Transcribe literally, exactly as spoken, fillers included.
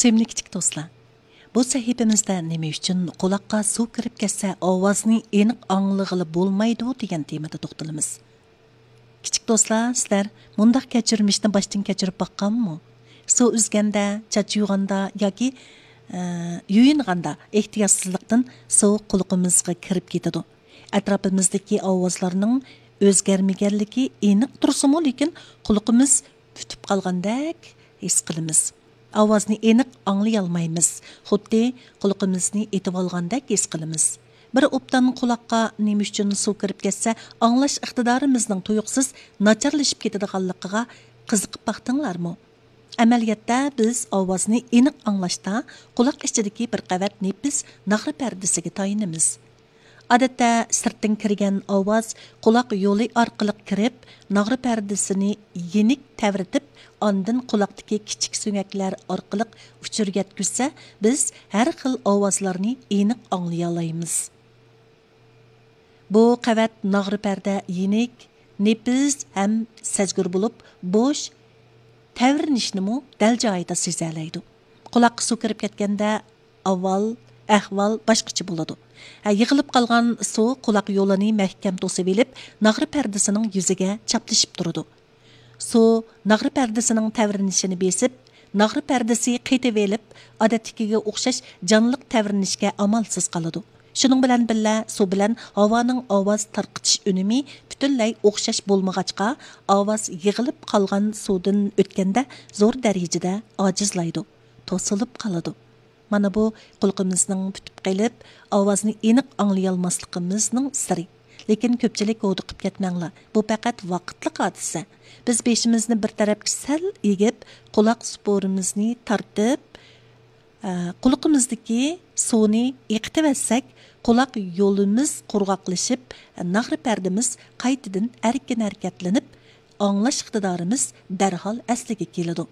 سۆيۈملۈك كىچىك دوستلار، بۇ سەھىپىمىزدە نېمە ئۈچۈن قۇلاققا سۇ كىرىپ كەتسە ئاۋازنى ئېنىق ئاڭلىغىلى بولمايدۇ دېگەن تېمىدا توختىلىمىز. كىچىك دوستلار، سىلەر مۇنداق كەچۈرمىشنى باشتىن كەچۈرۈپ باققانمۇ؟ سۇ ئۈزگەندە، چاچ يۇغاندا ياكى، ئە، يۇيۇنغاندا ئېھتىياتسىزلىقتىن سۇ قۇلىقىمىزغا كىرىپ كېتىدۇ. ئەتراپىمىزدىكى ئاۋازلارنىڭ ئۆزگەرمىگەنلىكى ئېنىق تۇرسىمۇ، لېكىن قۇلىقىمىز پۈتۈپ قالغاندەك ھېس قىلىمىز. ئاۋازنى ئېنىق ئاڭلىيالمايمىز، خۇددى قۇلىقىمىزنى ئېتىۋالغاندەك ھېس قىلىمىز. بىر ئوبدان قۇلاققا نېمە ئۈچۈن سۇ كىرىپ كەتسە، ئاڭلاش ئىقتىدارىمىزنىڭ تۇيۇقسىز ناچارلىشىپ كېتىدىغانلىقىغا قىزىقىپ باقتىڭلارمۇ؟ ئەمەلىيەتتە، بىز ئاۋازنى ئېنىق ئاڭلاشتا قۇلاق ئىچىدىكى بىر قەۋەت نېپىز ناغرا پەردىسىگە تايىنىمىز. ئادەتتە، سىرتتىن كىرگەن ئاۋاز قۇلاق يولى ئارقىلىق كىرىپ، ناغرا پەردىسىنى يېنىك تەۋرىتىپ، ئاندىن قۇلاقتىكى كىچىك سۆڭەكلەر ئارقىلىق ئۇچۇر يەتكۈزسە، بىز ھەر خىل ئاۋازلارنى ئېنىق ئاڭلىيالايمىز. بۇ قەۋەت ناغرا پەردە يېنىك، نېپىز ھەم سەزگۈر بولۇپ، بوش، تەۋرىنىشنىمۇ دەل جايىدا سېزەلەيدۇ. قۇلاققا سۇ كىرىپ كەتكەندە، ئاۋۋال ئەھۋال باشقىچە بولىدۇ. ھە، يىغىلىپ قالغان سۇ قۇلاق يولىنى مەھكەم توسۇۋېلىپ، ناغرا پەردىسىنىڭ يۈزىگە چاپلىشىپ تۇرىدۇ. سۇ ناغرا پەردىسىنىڭ تەۋرىنىشىنى بېسىپ، ناغرا پەردىسى قېتىۋېلىپ، ئادەتتىكىگە ئوخشاش جانلىق تەۋرىنىشكە ئامالسىز قالىدۇ. شۇنىڭ بىلەن بىللە، سۇ بىلەن ھاۋانىڭ ئاۋاز تارقىتىش ئۈنۈمى پۈتۈنلەي ئوخشاش بولمىغاچقا، ئاۋاز يىغىلىپ قالغان سۇدىن ئۆتكەندە زور دەرىجىدە ئاجىزلايدۇ، توسۇلۇپ قالىدۇ. مانا بۇ قۇلىقىمىزنىڭ پۈتۈپ قېلىپ، ئاۋازنى ئېنىق ئاڭلىيالماسلىقىمىزنىڭ سىرى. لېكىن كۆپچىلىك ھودۇقۇپ كەتمەڭلار، بۇ پەقەت ۋاقىتلىق ھادىسە. بىز بېشىمىزنى بىر تەرەپكە سەل ئېگىپ، قۇلاق سۇپۇرىمىزنى تارتىپ، ئە، قۇلىقىمىزدىكى سۇنى ئېقىتىۋەتسەك، قۇلاق يولىمىز قۇرغاقلىشىپ، ناغرا پەردىمىز قايتىدىن ئەركىن ھەرىكەتلىنىپ، ئاڭلاش ئىقتىدارىمىز دەرھال ئەسلىگە كېلىدۇ.